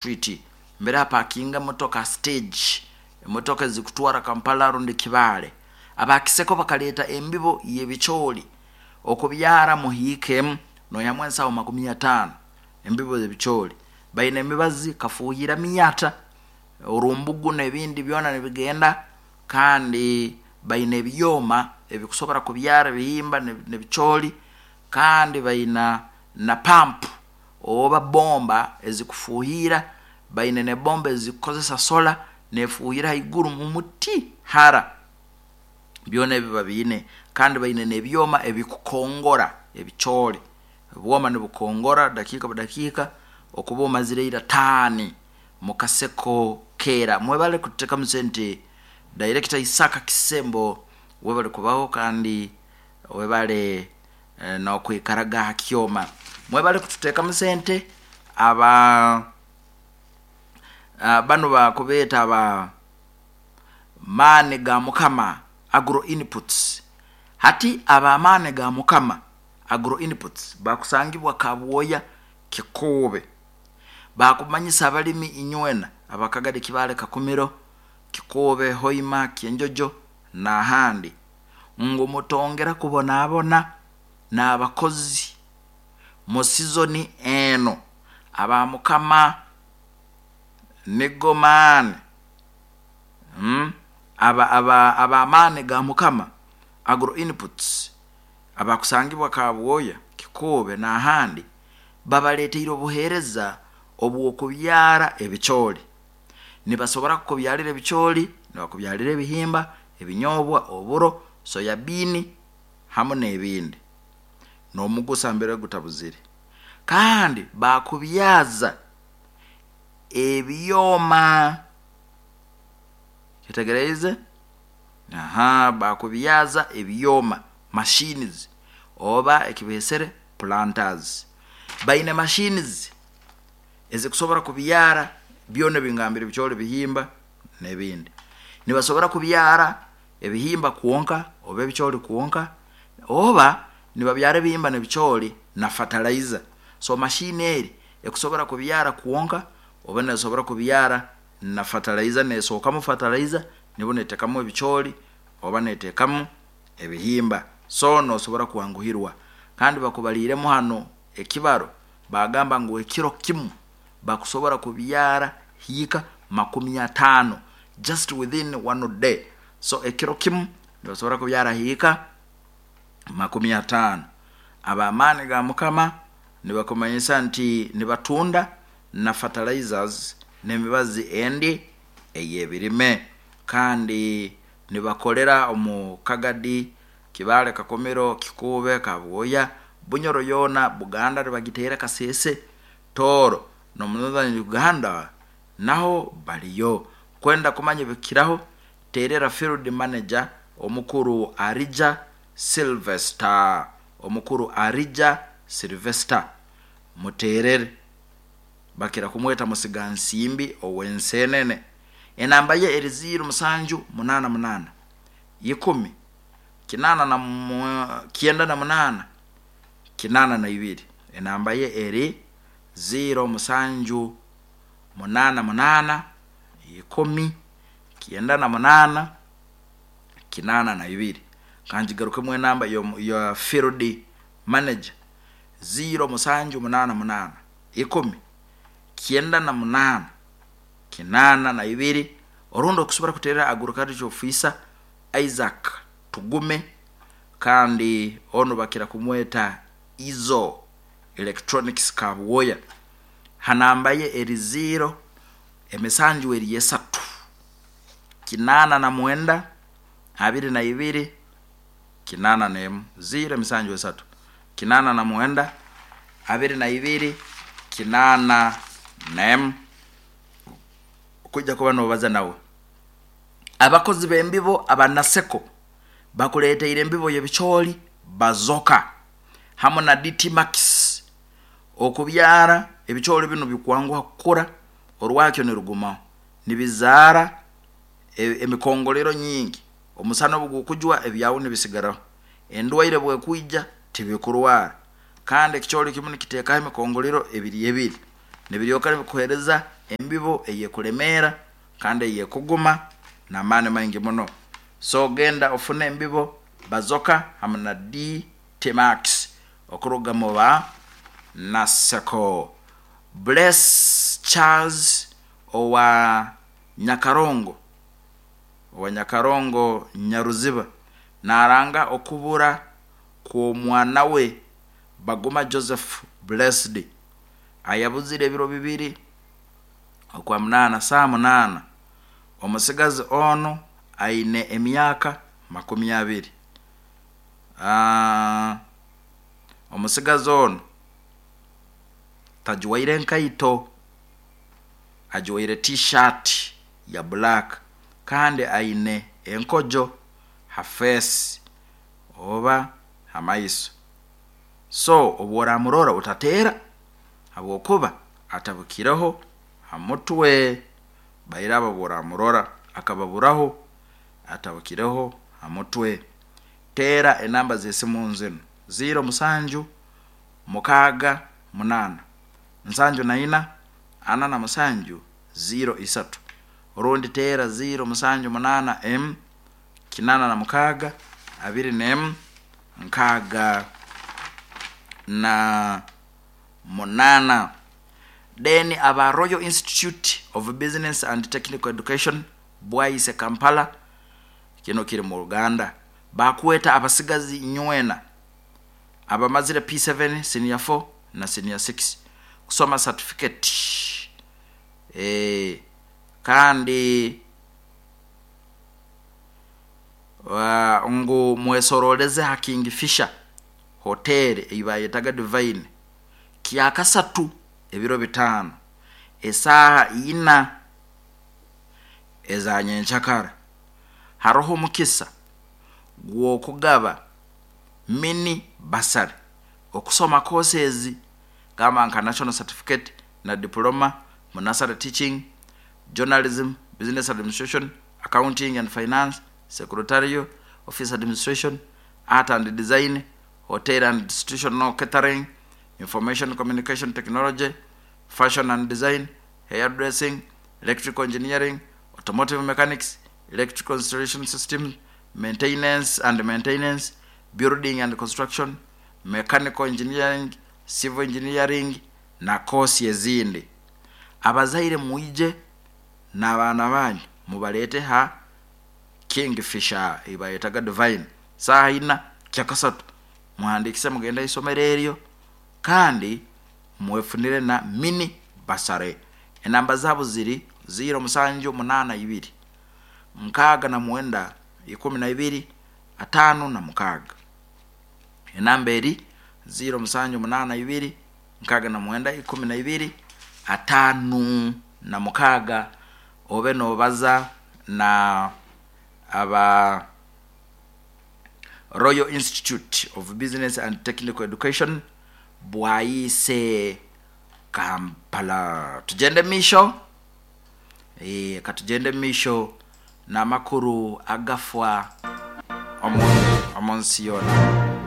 Street mbere hapakinga emotoka ha stage, emotoka ezikutwara Kampala rundi Kibaale. Aba Kiseko bakaleeta embibo y'ebicooli okubyara mu hiika emu noihamu ensaho 50 embibo z'ebicooli. Baine emibazi kafuuhira miyata, orumbugu n'ebindi byona nibigenda kandi baine ebyoma ebikusobora kubyara ebihimba n'ebicooli kandi baina na pampu oba bomba ezikufuuhiira, baine n'ebomba ezikukozesa sola nefuuhira haiguru mu muti hara. Byona ebi babiine kandi baine n'ebyoma ebikukongora ebicooli. Obwoma nibukongora dakiika budakiika okuba omazire ira taani mu kaseko keera. Mwebale kututekamu sente Director Isaka Kisembo webale kubaho kandi webale n'okwikaraga ha kyoma. Mwebale kututekamu sente aba banu bakubeeta aba Maani ga Mukama Agro Inputs. Hati aba Maani ga Mukama Agro Inputs bakusangibwa Kabwoya, Kikuube. Bakumanyisa abalimi inywena aba Kagadi, Kibaale, Kakumiro, Kikuube, Hoima, Kyenjojo n'ahandi ngu mutongera kubonabona n'abakozi mu sizoni eno. Aba Mukama nigo maani, aba aba ab'amaani ga Mukama Agro Inputs abakusangibwa Kabwoya, Kikuube n'ahandi babaleeteire obuheereza obw'okubyara ebicooli. Nibasobora kukubyarira ebicooli, nibakubyarira ebihimba, ebinyobwa, oburo, soya biini hamu n'ebindi. N'omugusa mbere gutabuzire. Kandi baakubyaza ebyoma. Kyetegereize? Aha, baakubyaza ebyoma, machines, oba ekibeesere planters. Baine machines ezikusobora kubyara byona ebi ngambire ebicooli, ebihimba n'ebindi. Nibasobora kubyara ebihimba kwonka oba ebicooli kwonka oba nibabyara ebihimba n'ebicooli na fertilizer. So machine eri ekusobora kubyara kwonka oba nesobora kubyara na fertilizer, nesookamu fertilizer nibwo netekamu ebicooli oba netekamu ebihimba. So nosobora kwanguhirwa. Kandi bakubaliiremu hanu ekibaro Baagamba ngu ekiro kimu bakusobora kubyara hiika 50 just within one day. So ekiro kimu nibasobora kubyara hiika 50. Ab'amaani ga Mukama nibakumanyisa nti nibatunda na fertilizers n'emibazi endi ey'ebirime. Kandi nibakolera omu Kagadi Kibaale, Kakumiro, Kikuube, Kabwoya, Bunyoro yoona, Buganda nibagiteera Kasese, Tooro n'omu Northern Uganda naho bariyo. Kwenda kumanya ebikukiraho, teerera Field Manager Omukuru Arija Sylvester. Omukuru Arija Sylvester muteerere. Bakira kumweta Musigansimbi ow'Enseenene. Enamba ye eri ziiro musanju munaana munaana. ikumi, 98 82. Enamba ye eri ziiro musanju munaana munaana, 10, 98 82. Ka ngigarukemu enamba ya field manager, ziiro musanju munaana munaana, 10, 98 82. Orundi okusobora kuterera Agriculture Officer Isaac Tugume kandi onu bakira kumweta Izo Electronics Kabwoya ha namba ye eri ziiro emisanju eri esatu 89 22 81 ziiro emisanju esatu 89 22 81. Okwija kuba nobaza nawe. Abakozi b'embibo aba Naseko bakuleeteire embibo y'ebicooli Bazoka hamu na DT Max. Okubyara ebicooli binu bikwanguha kukura orwakyo nirugumaho. Nibizaara emikongolero nyingi. Omusana obugukujwa ebyawe nibisigaraho. Endwaire obwekwija tibikurwara. Kandi ekicooli kimu nikiteekaho emikongolero ebiri ebiri. Nibiryoka nibikuheereza. Embibo eyekulemeera kandi eyekuguma namaani maingi muno. So genda ofune embibo Bazoka hamu na DT Max okuruga mu ba Naseko. Bless Charles owa Nyakarongo owa Nyakarongo Nyaruziba naranga okubura kw'omwana we Baguma Joseph Blessed ayabuzire ebiro bibiri Okwamunaana saaha munaana. Omutsigazi onu aine emyaka 20. Omutsigazi onu tajwaire nkaito, ajwaire T-shirt ya black kandi aine enkojo ha feesi oba ha maiso. So obu oramurora otateera habwokuba atabukireho ha mutwe. Baire abo obu oramurora akababuraho atabukireho ha mutwe. Teera enamba z'esimu zinu, ziiro musanju mukaaga munaana, nsanju na ina, ana na musanju, ziiro isatu. Orundi teera ziiro musanju munaana emu, 86, 21, 68. Then aba Royal Institute of Business and Technical Education Bwaise Kampala, kinu kiri mu Uganda, baakweta abasigazi inywena abamazire P7, Senior 4 na Senior 6 kusoma satifiketi kandi ngu mwesorooleze ha Kingfisher Hotel ei baayetaga Divine Kyakasatu ebiro bitaano esaaha ina eza nyenkyakara. Haroho omukisa gw'okugaba mini bursary okusoma koosi ezi gamba nka National Certificate na Diploma mu Nursery Teaching, Journalism, Business Administration, Accounting and Finance, Secretarial, Office Administration, Art and Design, Hotel and Institutional Catering, Information Communication Technology, Fashion and Design, Hairdressing, Electrical Engineering, Automotive Mechanics, Electrical Installation Systems, Maintenance and Maintenance, Building and Construction, Mechanical Engineering, Civil Engineering na koosi ezindi. Abazaire mwije n'abaana banyu mubaleete ha Kingfisher ei bayetaga Divine saaha ina kyakasatu. Muhandiikise mugende ahaisomero eryo kandi mwefunire na mini bursary. Enamba zaabo ziri ziiro musanju munaana ibiri, 69 12 56. Enamba eri ziiro musanju munaana ibiri, 69 12 56 obe nobaza na aba Royal Institute of Business and Technical Education Bwaise Kampala. Tugyende omu maisho, eh, katugyende omu maisho n'amakuru agafwa omu nsi yoona.